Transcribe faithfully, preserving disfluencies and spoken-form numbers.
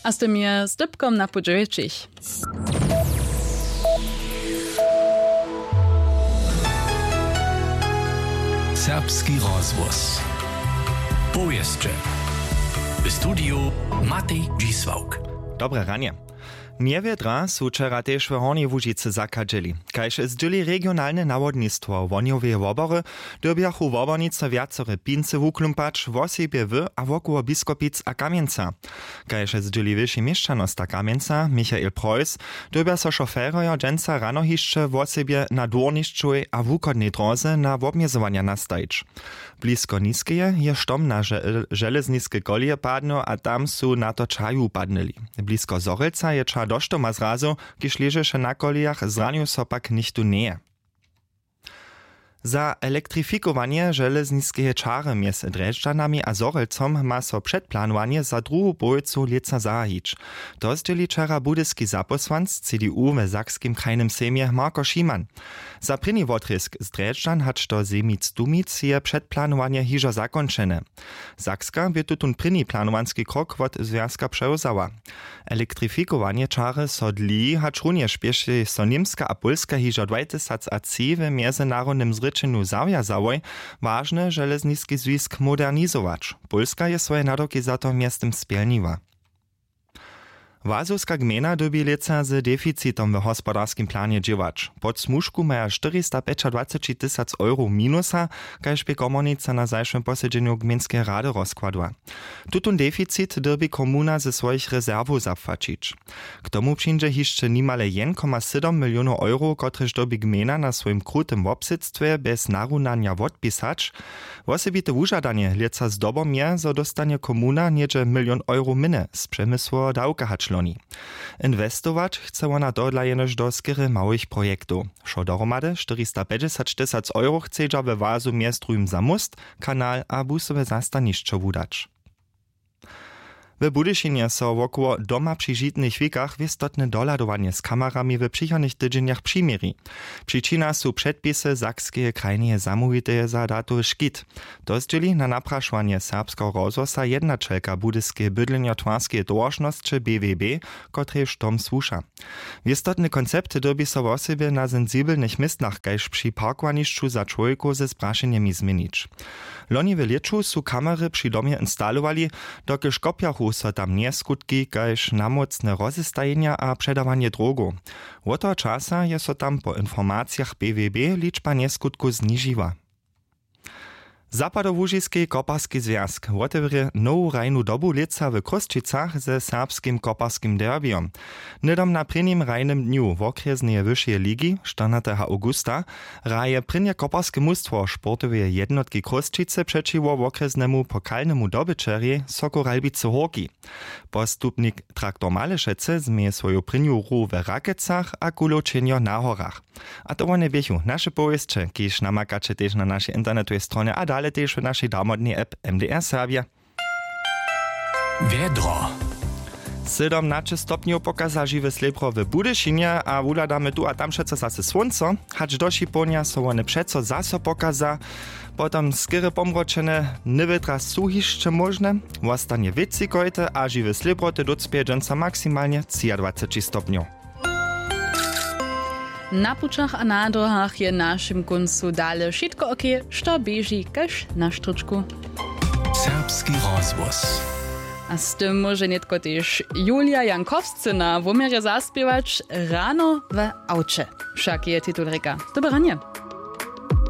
A z tym je z dypkom na pół dźewjećich. Serbski rozhłos. Powěsće. W studiju Matej Dźisławk. Dobre ranje. Njewjedra su wčera tež w Hornjej Łužicy zachadźeli. Kaž zdźěli regionalne nawodnistwo Wohnjoweje wobory, dyrbjachu wobornicy wjacore pincy wuklumpać, wosebje w a wokoło Biskopic a Kamjenca. Kaž zdźěli wyši měšćanosta Kamjenca Michael Preuss, dyrbja so šoferjo dźensa rano hišće wosebje na dwórnišćowej a wuchodnej dróze na wobmjezowanja nastajić. Blisko Niskeje je štom na žel-, železniske koleje padnył a tam su na to čaju padnyli. Blisko Zhorjelca je ča do štoma zrazył, kiž ležeše na kolejach, zranił so pak nichtó njeje. Za elektrifikowanje železniskeje čary mjez Drježdźanami a Zhorjelcom ma so předplanowanje za druhu połojcu lětsa zahajić. To zdźěli wčera budyski zapósłanc C D U we Sakskim krajnym sejmje Marko Šiman. Za prěni wotrězk z Drježdźan hač do Zemic-Dumic je předplanowanje hižo zakónčene. Sakska bě tutón prěni planowanski krok wot zwjazka přewzała. Elektrifikowanje čary so dlěji, hačrunjež běše so Němska a Pólska hižo dwajtysacatři w mjezynarodnym zrěčenju zawjazałoj, wažny železniski zwisk modernizować. Pólska je swoje nadawki za to mjeztym spjelniła. Łazowska gmejna dyrbi lětsa z deficitom w hospodarskim planje dźěłać. Pod smužku maja štyristapjećadwaceći tysac euro minusa, kaž bě komornica na zašłym posedźenju gmejnskeje rady rozkładła. Tutón deficit dyrbi komuna ze swojich rezerwow zapłaćić. K tomu přińdźe hišće nimale jedyn koma sydom milionow euro, kotrež dyrbi gmejna na swojim krutym wobsydstwje bjez narunanja wotpisać. Wosebite wužadanje lětsa zdobom je, zo dóstanje komuna něhdźe milion euro mjenje z přemysłoweho dawka hač loni. Inwestować chce wona tohodla jenož do skerje małych projektow. Wšo dohromady štyristapjećdźesat tysac euro chcedźa we Łazu mjez druhim za móst, kanal a busowe zastanišćo wudać. W Budyšinje so wokoło doma při žitnych wikach wěstotne dohladowanje z kamerami w přichodnych tydźenjach přiměri. Přičina su předpisy Sakskeje krajneje zamołwiteje za datowy škit. To zdźěli na naprašowanje Serbskeho rozhłosa jednaćelka Budyskeje bydlenjotwarskeje towaršnosće B W B, kotrež tom słuša. Wěstotny koncept dyrbi so wosebje na sensibelnych městnach kaž při parkowanišću za čłowjekow ze sprašenjemi změnić. Loni w lěću su kamery při domje instalowali, dokelž kopjachu so tam njeskutki kaž namócne rozestajenja a předawanje drogow. Wot toho časa je so tam po informacijach B W B ličba njeskutkow znižiła. Zapadołužiski koparski zwjazk wotewrě nowu hrajnu dobu lětsa w Chrósćicach ze serbskim koparskim derbijom. Hnydom na prěnim hrajnym dnju wokrjesneje wyšeje ligi, štyrnateho awgusta, hraje prěnje koparske mustwo sportoweje jednotki Chrósćicy přećiwo wokrjesnemu pokalnemu dobyćerjej Sokół Ralbicy Hórki. Postupnik Traktor Malešecy změje swoju prěnju hru w Rakecach a kulowčenjo na horach. A to wone běchu naše powěsće, kiž namakaće tež na našej internetowej stronje a dale tež w našej damodnej app M D R Serbje. Wjedro. Sydom na šěsć stopnjow pokaza žiwe slěbro w Budyšinje a wuhladamy tu a tam přeco zase słónco, hač do šipołnja so wone přeco zaso pokaza. Potom skerje pomročene, njewětra su hišće móžne, wostanje wětřikojte a žiwe slěbroty dócpjeje dźensa maksimalnje třiadwaceći stopnjow. Na pućach a na dróhach je w našim kóncu dale wšitko ok, što běži kaž na štryčku. Serbski rozhłos. A z tym móže nětko tež Julia Jankowscy na wuměrje zaspěwać: Rano w awće. Wšak je titul rěka. Dobre ranje.